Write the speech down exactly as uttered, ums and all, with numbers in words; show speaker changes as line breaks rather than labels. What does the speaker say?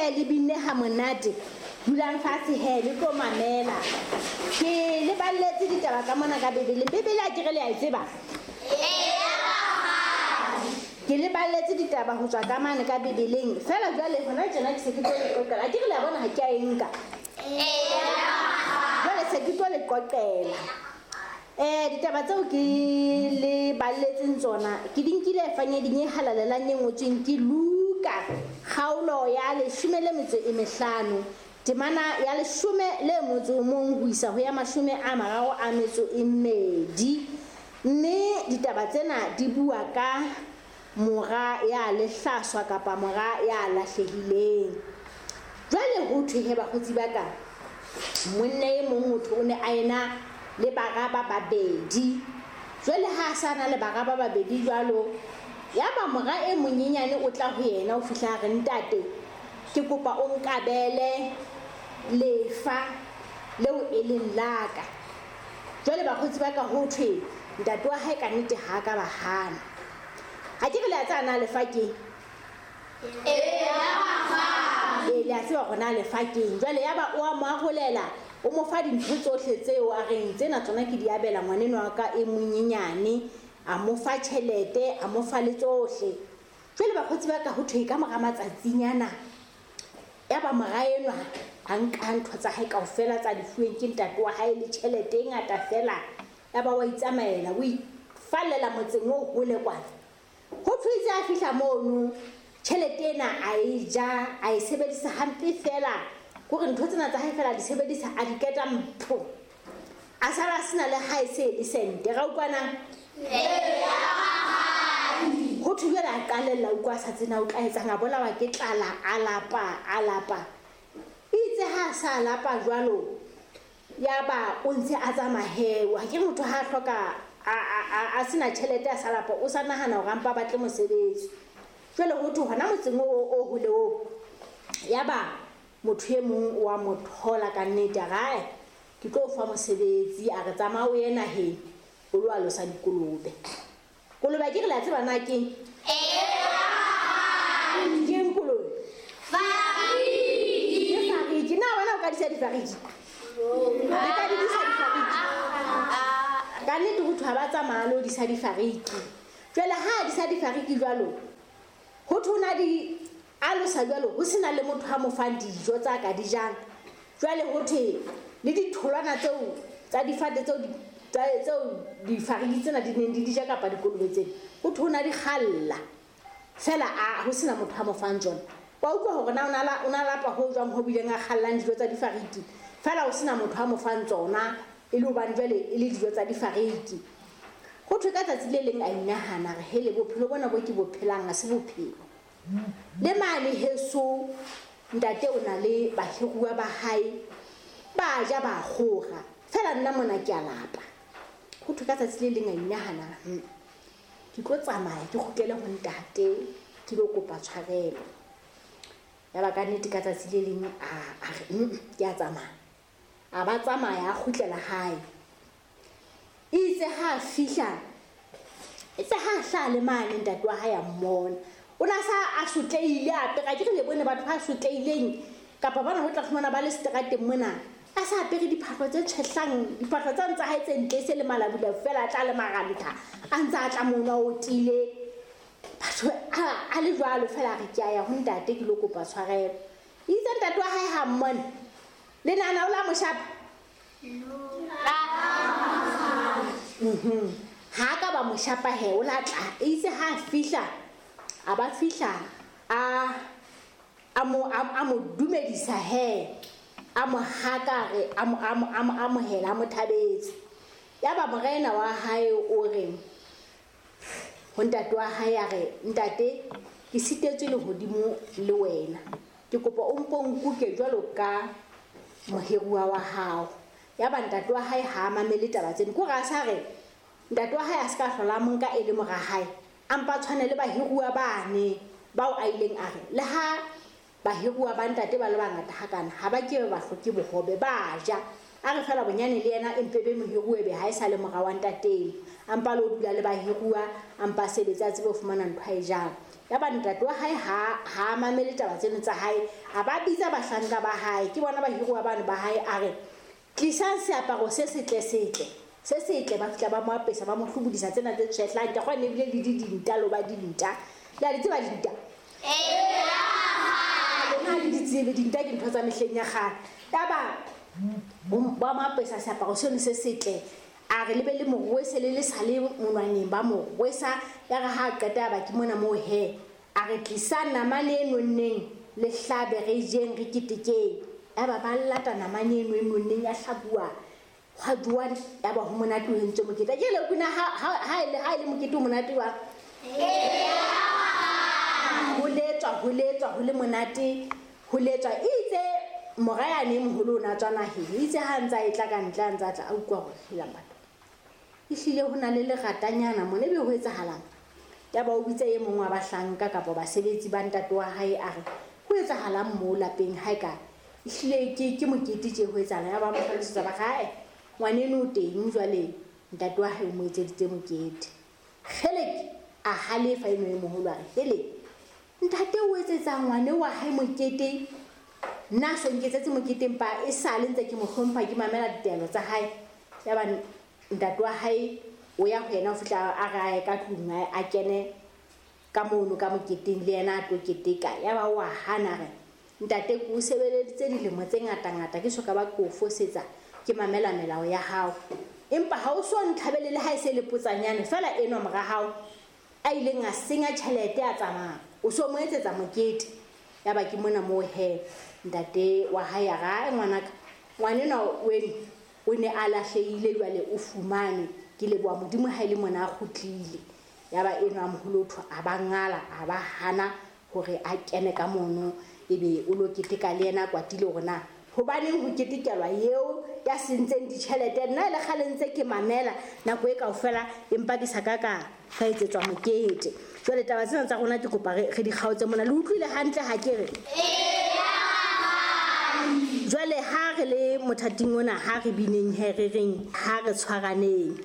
he le binne ha monate. Dulang fatshe he le tlo mamela. Ke le balletse ditaba ka mona ka Bibeleng. Bibele a ke re le a e tseba? Ke le balletse ditaba ho tswa ka mane ka Bibeleng. Fela jwale hona tjena ke se ke tlo le qoqela. A ke re le a bona ha ke a e nka. Jwale se ke tlo le qoqela. Eh ditaba tseo ke le balletseng tsona ke di nkile efangeding e halalelang e ngotsweng ke Luka kgaolo ya leshome le metso e mehlano temana ya leshome le motso o mong ho isa ho ya mashome a mararo a metso e mmedi. Mme ditaba tsena di bua ka mora ya lehlaswa kapa mora ya lahlehileng. Jwale ho thwe he bakgotsi ba ka, monna e mong motho o ne a ena le bara ba babedi. Jwale ha a sa na le bara ba babedi jwalo, ya ba mora e monyenyane o tla ho yena o fihla a re, ntate ke kopa o nkabele lefa leo e leng la ka. Jwale bakgotsi ba ka ho thwe ntate wa hae ka nnete ha ka ba hana. Ha ke re le a tseba na lefa keng? Ee, le a tseba hore na lefa keng. Jwale ya ba o a mo arolela, o mo fa dintho tsohle tseo a reng tsena tsona ke di abela ngwaneno wa ka e monyenyane, a mo fa tjhelete, a mo fa le tsohle. Jwale bakgotsi ba ka ho thwe ka mora matsatsinyana ya ba mora enwa a nka ntho tsa hae kaofela tsa di fuweng ke ntate wa hae le tjhelete e ngata fela, ya ba wa itsamaela, o ifallela motseng o hole kwana. Ho thwe itse a fihla mono, tjhelete ena a e ja, a e sebedisa hampe fela. Kore ntho tsena tsa hae fela di sebedisa a di keta mpho. A sala a sena le hae se le sente. Ra utlwana? Ho thwe jwale a qalella utlwa a sa tsena o tla etsang, a bolawa ke tlala, a lapa, a lapa. Itse ha a sa lapa jwalo, ya ba o ntse a tsamaya he. Wa ke motho ha a hloka a a a sena tjhelete a sa lapa, o sa nahana hore a mpa batle mosebetsi. Jwale ho thwe hona motseng o o hole oo, ya ba motho e mong wa mo thola ka nnete, a re, ae, ke tlo o fa mosebetsi, a re tsamaya o ye naheng o lo alosa dikolobe. Kolobe ke re le a tseba na keng? Keng kolobe? Ke fariki. Na wena o ka disa difariki? Le ka di disa difariki? Ka nnete ho thwe ha ba tsamaya le ho disa difariki. Jwale ha a disa difariki jwalo, ho thwe o na di alosa jwalo, ho sena le motho a mo fang dijo tsa ka di jang. Jwale ho thwe le ditholwana tseo tsa difate tseo di tseo difariki tsena di neng di di ja kapa dikolobe tsena, ho thwe o na di kgalla fela, a ho sena motho a mo fang tsona. Wa utlwa hore na o na la o na lapa ho jwang ho bileng a kgallang dijo tsa difariki fela, ho sena motho a mo fang tsona, e le hobane jwale e le dijo tsa difariki. Ho thwe ka tsatsi le leng a inahana re hele bophelo bona bo ke bo phelang ha se bophelo. Le mane heso ntate o na le bahiruwa ba hae ba ja ba kgora fela, nna mona ke a lapa. Ho thwe ka tsatsi le leng a inahana, ke tlo tsamaya ke kgutlele ho ntate ke lo kopa tshwarelo. Ya ba ka nnete ka tsatsi le leng a a re ke a tsamaya. A ba tsamaya a kgutlela hae. Itse ha fihla, itse ha hlaha le mane ntate wa hae a mmona. O na sa a sotlehile a apere, ke re le bone batho ba sotlehileng kapa bana ho tla fumana ba le seterateng mona, a sa apere diphahlo tse tshwehlang, diphahlo tsa ntsa hae tse ntle se le malabula fela, a tla le marantha a ntsa a tla mona o tiile. Batho a le jwalo fela, a re ke a ya ho ntate ke lo kopa tshwarelo. Itse ntate wa hae ha mmona, le nahana o la mo shapa? Mhm. Ha ka ba mo shapa he, o la tla. Itse ha fihla, a ba fihla a a mo a mo dumedisa he, a mo haka re a mo a mo a mo amohela, a mo thabetse. Ya ba morena wa hae o re ho ntate wa hae, a re ntate ke sitetswe lehodimo le wena, ke kopa o mpo nkuke jwalo ka mohiruwa wa hao. Ya ba ntate wa hae ha a mamele taba tseno, ke hore a sa re ntate wa hae a se ka hlola mo nka e le mora hae, a mpa tshwane le bahiruwa bane bao a ileng a re le ha bahiruwa ba ntate ba le bangata hakana ha ba ke ba hloke bohobe ba ja. A re fela bonyane le yena empe be mohiruwe be ha e sa le mora wa ntateng, a mpa lo dula le bahiruwa, a mpa sebetsa a tsebe ho fumana ntho a e jang. Ya ba ntate wa hae ha ha mamele taba tseno tsa hae, a ba bitsa bahlanka ba hae, ke bona bahiruwa bano ba hae, a re tlisang seaparo se setle setle se setle. Ba fihla ba mo apesa, ba mo hlobodisa tsena tse tshehlang, ke kgone ebile le di dinta lo ba dinta. Le a di tseba dinta? Lona ha le di tsebe dinta, ke ntho tsa mehleng ya kgale. Yaba ba mo apesa seaparo seno se setle, a re le be le mo rwese le le sa le monwaneng, ba mo rwesa. Ya re ha a qeta ba ke mona moo he, a re tlisang namane e nonneng le hlabe re jeng re ketekeng. Ya ba ba lata namane eno e nonneng ya hlabuwa, hwa jowa, ya ba ho monate ho entswe mokete. Ke le kuna ha ha e le ha e le mokete o monate wa ho letswa, ho letswa, ho le monate, ho letswa. Itse mora yane e moholo o na tswa naheng, itse ha ntsa e tla ka ntle, a ntsa tla a utlwa hore helang batho, ehlile ho na le leratanyana mona, ebe ho etsahalang? Ya ba o bitsa e mong wa bahlanka kapa basebetsi ba ntate wa hae, a re ho etsahalang moo lapeng ha e ka ehlile ke ke mokete tje ho etsahalang? Ya ba mo hlalosetsa ba hae, ngwaneno o teng jwale, ntate wa hae o mo etseditse mokete. Kgeleke a halefa eno e moholo, a re hele, ntate o etsetsa ngwane wa hae mokete, nna so nketsetse mokete, empa e sale ntse ke mo hlompha, ke mamela ditaelo tsa hae. Ya ba ntate wa hae o ya ho yena ho fihla a re a ye ka tlung, a kene ka mono ka moketeng le yena a tlo keteka. Ya ba wa hana, re ntate ke o sebeleditse dilemo tse ngata-ngata, ke soka ba ke o fosetsa, ke mamela melao ya hao, empa ha o so ntlhabele le ha e se le potsanyane feela enwa mora hao a ileng a senya tjhelete a tsamaya, o so mo etsetsa mokete. Ya ba ke mona moo he ntate wa hae a re, ngwanaka, ngwanenwa weno o ne a lahlehile jwale o fumane, ke leboha Modimo ha e le mona a kgutlile. Ya ba enwa a moholo thwa a ba ngala, a ba hana hore a kene ka mono, ebe o lo keteka le yena a kwatile hore na hobaneng ho ketekelwa eo ya sentseng ditjhelete. Nna e le kgale ntse ke mamela nako e kaofela, empa ke sa ka ka ka etsetswa mokete. Jwale taba tsena tsa rona ke kopa re di kgaotse mona. Le utlwile hantle ha ke re? Jwale ha re le mothating ona, ha re bineng he re reng, ha re tshwaraneng.